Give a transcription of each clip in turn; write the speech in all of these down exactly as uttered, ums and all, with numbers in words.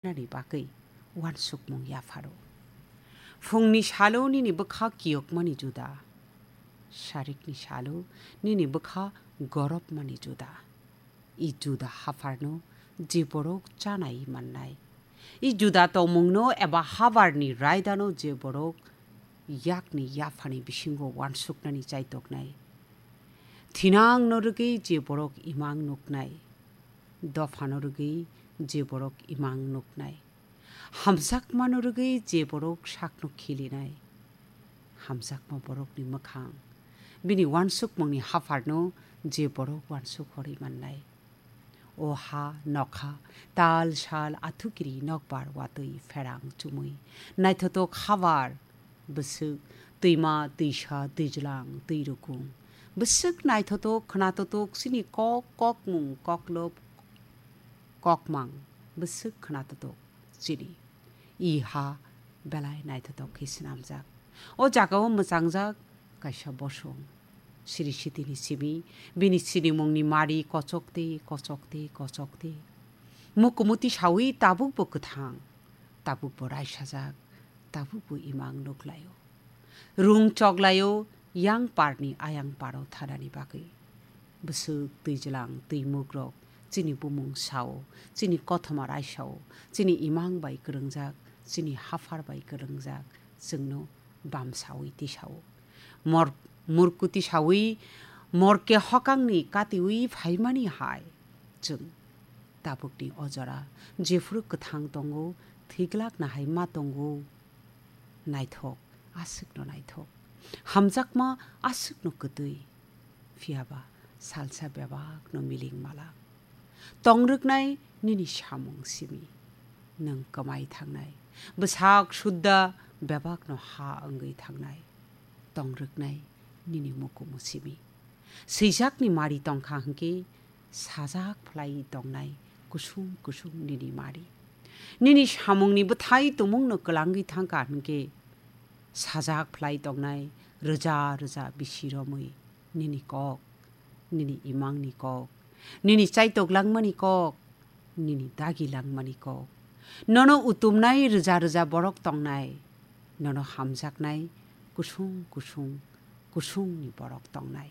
nani bagwi uansukmung yapharo. Phungni salo nini bwkha kiyokmani juda, sarikni salo nini bwkha goropmani juda. I juda hapharno je borok chanai mannai, i juda tongmungno eba habarni raidano je borok yakni yaphani bisingo uansuknani chaitoknai, thinangno rwgwi je borok imang nuknai, dophano rwgwi je borok imang nuknai, hamjakmano rwgwi je borok sakno khilinai, hamjakma borokni mwkhang, bini uansukmungni hapharno je borok uansuk horwi mannai. O ha, nokha, tal, sal, athukiri, nokbar, watwi, pherang, chumui, naithotok habar, bwswk, twima, twisa, twijlang, twirukung, bwswk naithotok, khnathotok, chini kok, kokmung, koklop, kokmang, bwswk khnathotok, chini. I ha belai naithotok khe swnamjak. O jagao mwchangjak kaisa bosong. Siri sitini simi, bini sinimungni mari kochok tei, kochok tei, kochok tei. Mukumuti sawi tabukbo kwthang, tabukbo raisajak, tabukbo imang nuklaio. Rung choklaio yang parni ayang paro thanani bagwi. Bwswk twijlang twimukrok chini bumung sao, chini kothoma raisao, chini imang bai kwrwngjak, chini haphar bai kwrwngjak, chwngno bam sawi tisao. Mor-, murkuti sawi, morke hokangni katiwi phaimani hai chwng tabukni o jora jephuru kwthang tongo, thwiglakna hai ma tongo. Naithok, aswkno naithok. Hamjakma aswkno kwtwi. Phiyaba salsa bebakno miling malak. Tongrwknai nini samung simi. Nwng kwmai thangnai. Bwsak sudda bebakno ha wngwi thangnai. Tongrwknai nini mukumu simi. Swijakni mari tongkha hwnkhe sajak phlai tongnai kusung kusung nini mari. Nini samungni bwthai tumungno kwlangwi thangkha hwnkhe sajak phlai tongnai rwja rwja bisi romwi nini kok, nini imangni kok, nini chaitok langmani kok, nini dagi langmani kok. Nono utumnai rwja rwja borok tongnai, nono hamjaknai kusung kusung kusungni borok tongnai.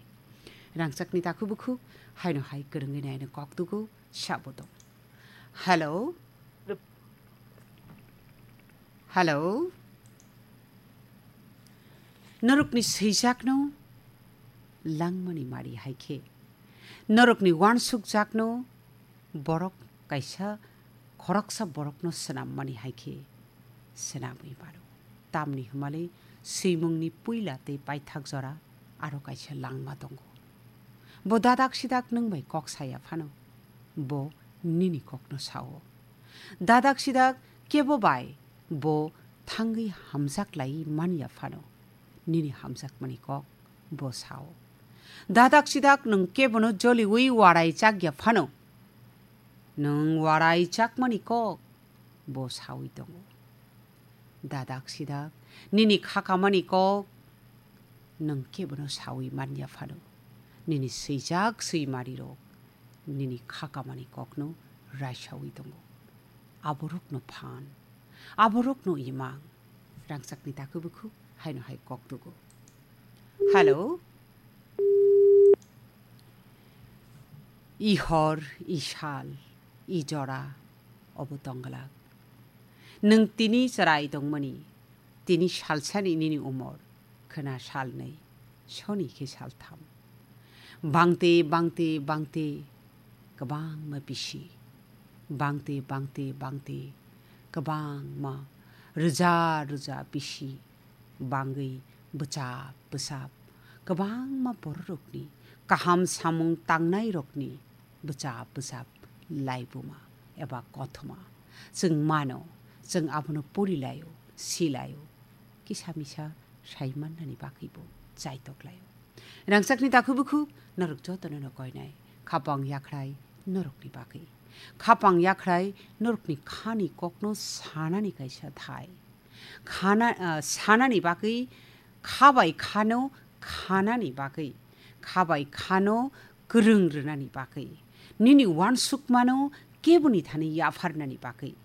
Rangchakni takhuk bukhuk haino hai kwrwngwi naino kok tugo sabo tong. Hello? Hello? Norokni swijakno langmani mari hai khe, norokni uansukjakno borok kaisa khoroksa borokno swnammani hai khe swnamwi mano. Tamni hwnmale swimungni puila tei paithak jora aro kaisa langma tongo. Bo dadak sidak nwng bai kok saya phano, bo nini kokno sao. Dadak sidak kebo bai bo thangwi hamjak lai man ya phano, nini hamjakmani kok bo sao. Dadak sidak nwng kebono joliwi warai chak ya phano, nwng warai chakmani kok bo sawi tongo. Dadak sidak nini khakamani kok nwng kebono sawi man ya phano, nini swijak swimarirok nini khakamani kokno raisawi tongo. Aborokno phan, aborokno imang. Rangchakni takhuk bukhuk haino hai kok tugo. Hello? I hor, i sal, i jora, obo tongglak. Nwng tini chwrai tongmani, tini salsani nini umor, khwna salnwi, soni khe saltham. Bangte, bangte, bangte, kwbangma bisi. Bangte, bangte, bangte, kwbangma rwja rwja bisi bangwi bwchap bwchap kwbangma bororokni kaham samung tangnairokni bwchap bwchap laibuma eba kothoma chwng mano, chwng abono porilaio, silaio, kisa misa sai mannani bagwibo chaitok laio. Rangchakni takhuk bukhuk norok jotono no koinai, khapang yakhrai norokni bagwi. Khapang yakhrai norokni khani kokno sanani kaisa thai. Khana, ah, sanani bagwi, kha bai khano khanani bagwi, kha bai khano kwrwng rwnani bagwi, nini uansukmano keboni thani yapharnani bagwi,